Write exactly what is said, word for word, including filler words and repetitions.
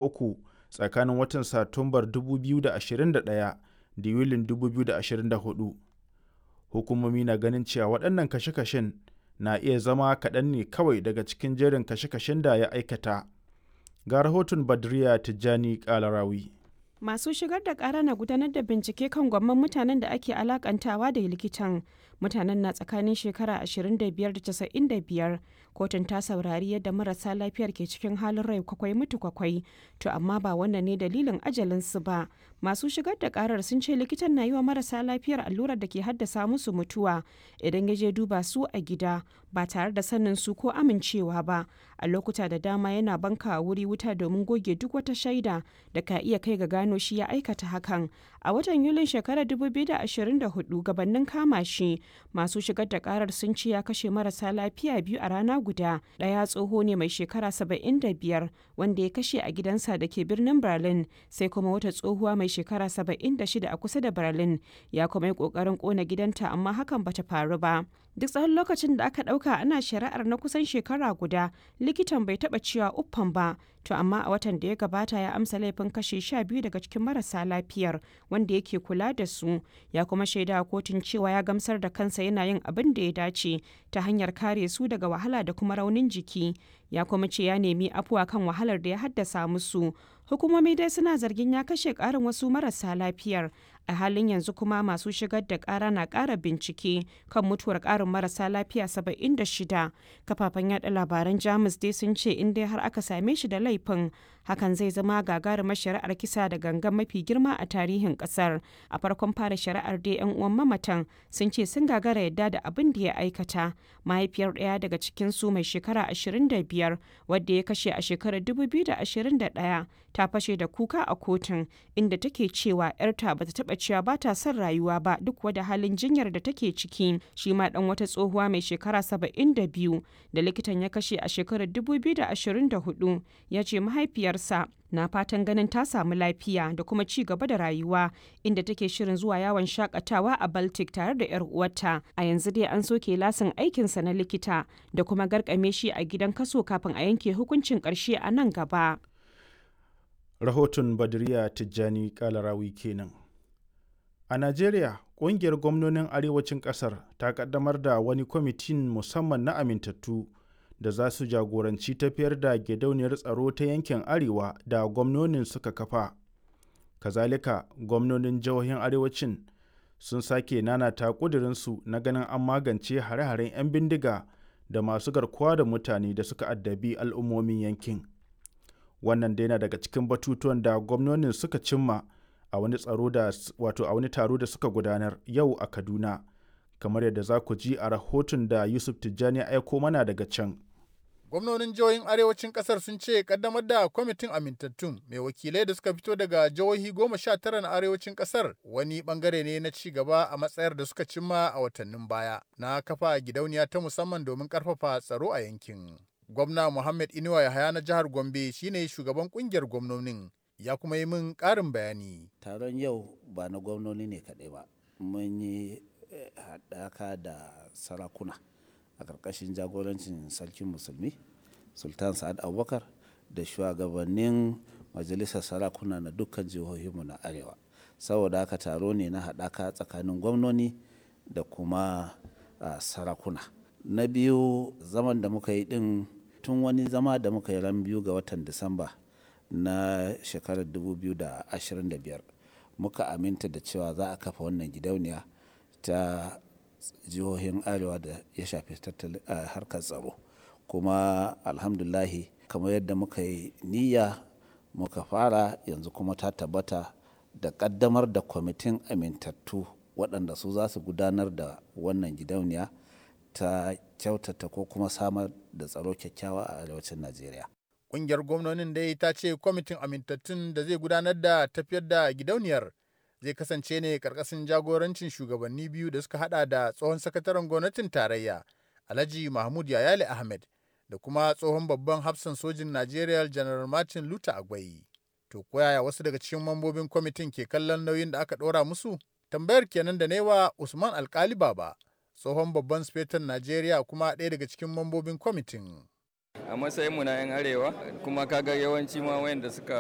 uku tsakanin watan Satumbar dubu biyu da ashirin da ɗaya da Yulin dubu biyu da ashirin da huɗu. Hukumomi na ganin cewa waɗannan kashe-kashen na iya zama kaɗan ne kawai daga cikin jerin kashe-kashen da ya aikata. Ga rahoton Badriya Tijjani Kalarawi. Masu shigar da kara na gudanar da bincike kan gwamman mutanen da ake alakantawa da likitan. Mutanen na tsakanin shekara ashirin da biyar da casa'in da biyar. Kotun ta saurari yadda marasa lafiyar ke cikin halin rai kwakwai mutu kwakwai. To amma ba wannan ne dalilin ajalinsu ba. Masu shigar da karar sun ce likitan na yi wa marasa lafiyar allurar da ke haddasa musu mutuwa idan ya je duba su a gida ba tare da sanin su ko amincewa ba. A lokuta da dama yana banka wuri wuta domin goge duk wata shaida da ka iya kai ga gano shi ya aikata hakan. A watan Yulin shekarar dubu biyu da ashirin da huɗu, gabanin kama shi, masu shigar da karar sun ce ya kashe marasa lafiya biyu a rana guda. Ɗaya tsoho ne mai shekara saba'in da biyar wanda ya kashe a gidansa da ke birnin Berlin, sai kuma wata tsohuwa mai shekara saba'in da shida a kusa da Berlin. Ya kuma yi ƙoƙarin ƙona gidanta, amma hakan bata faru ba. Duk tsawon lokacin da aka ɗauka ana shari'ar na kusan shekara guda, likitan bai taɓa cewa uffan ba. To amma a watan da ya gabata ya amsa laifin kashe sha biyu daga cikin marasa lafiyar wanda yake kula da su. Ya kuma shaida kotun cewa ya gamsar da kansa yana yin abin da ya dace ta hanyar kare su daga wahala da kuma raunin jiki. Ya kuma ce ya nemi afuwa kan wahalar da ya haddasa musu. Hukumomi dai suna zargin ya kashe ƙarin wasu marasa lafiyar. A halin yanzu kuma masu shigar da ƙara na ƙara bincike kan mutuwar ƙarin marasa lafiya saba'in da shida. Kafafen yada labaran Jamus dai sun ce in dai har aka same shi da laifin, hakan zai zama gagarumar shari'ar kisa da gangan mafi girma a tarihin kasar. A farkon fara shari'ar dai, yan uwan mamatan sun ce sun gagara yadda da abin da ya aikata. Mahaifiyar ɗaya daga cikin su mai shekara ashirin da biyar wadda ya kashe a shekarar dubu biyu da ashirin da ɗaya ta fashe da kuka a kotun, inda take cewa 'yarta bata taɓa cewa ba ta son rayuwa ba duk wada halin jinyar da take ciki. Shi ma dan wata tsohuwa mai shekara saba'in da biyu da likitan ya kashe a shekarar dubu biyu da ashirin da huɗu ya ce mahaifiyarsa na fatan ganin ta samu lafiya da kuma ci gaba da rayuwa, inda take shirin zuwa yawon shakatawa a Baltic tare da 'yar uwarta. A yanzu dai an soke lasin aikinsa na likita da kuma garkame shi a gidan kaso kafin a yanke hukuncin karshe a nan gaba. Rahoton Badriya Tijjani Kalarawi kenan. A Najeriya, ƙungiyar gwamnonin arewacin ƙasar ta ƙaddamar da wani kwamitin musamman na amintattu da za su jagoranci tafiyar da gidauniyar tsaro ta yankin Arewa da gwamnonin suka kafa. Kazalika, gwamnonin jihohin arewacin sun sake nanata ƙudurinsu na ganin an magance hare-haren 'yan bindiga da masu garkuwa da mutane da suka addabi al'ummomin yankin. Wannan dai na daga cikin batutuwan da gwamnonin suka cimma a wani tsaro da wato a wani taro da suka gudanar yau a Kaduna, kamar yadda za ku ji a rahoton da Yusuf Tijjani ya aiko mana daga can. Gwamnonin jihohin arewacin kasar sun ce kaddamar da kwamitin amintattun mai wakilai da suka fito daga jihohi goma sha tara na arewacin kasar wani bangare ne na ci gaba a matsayar da suka cimma a watannin baya na kafa gidauniya ta musamman domin karfafa tsaro a yankin. Gwamna Muhammad Inuwa Yahaya na jihar Gombe shine shugaban kungiyar gwamnonin, ya kuma yi min ƙarin bayani. Taron yau ba na gwamnoni ne kaɗai ba, mun yi haɗaka da sarakuna a ƙarƙashin jagorancin Sarkin Musulmi Sultan Sa'ad Abubakar da shugabannin majalisar sarakuna na dukkan jihohinmu na arewa. Saboda haka taro ne na haɗaka tsakanin gwamnoni da kuma sarakuna. Na biyu, zaman da muka yi ɗin tun wani zama da muka yi ran biyu ga watan Disamba na shekarar dubu biyu da ashirin da biyar, muka aminta da cewa za a kafa wannan gidauniya ta jihohin arewa da ya shafi harkar tsaro. Kuma alhamdulahi, kamar yadda muka yi niyya muka fara, yanzu kuma ta tabbata da kaddamar da kwamitin amintattu waɗanda su za su gudanar da wannan gidauniya ta kyautata ko kuma samar da tsaro kyakkyawa a arewacin Najeriya. Ƙungiyar gwamnonin dai ta ce kwamitin amintattun da zai gudanar da tafiyar da gidauniyar zai kasance ne karkashin jagorancin shugabanni biyu da suka hada da tsohon sakataren gwamnatin tarayya Alhaji Mahmud Yayale Ahmed da kuma tsohon babban hafsan sojin Najeriya Janar Martin Luther Agwai. To koyaya wasu daga cikin mambobin kwamitin ke kallon nauyin da aka ɗora musu? Tambayar kenan da newa Usman Alkali Baba, tsohon babban sufetan Najeriya kuma ɗaya daga cikin mambobin kwamitin. A matsayin mu na 'yan arewa kuma kaga yawanci ma wayanda suka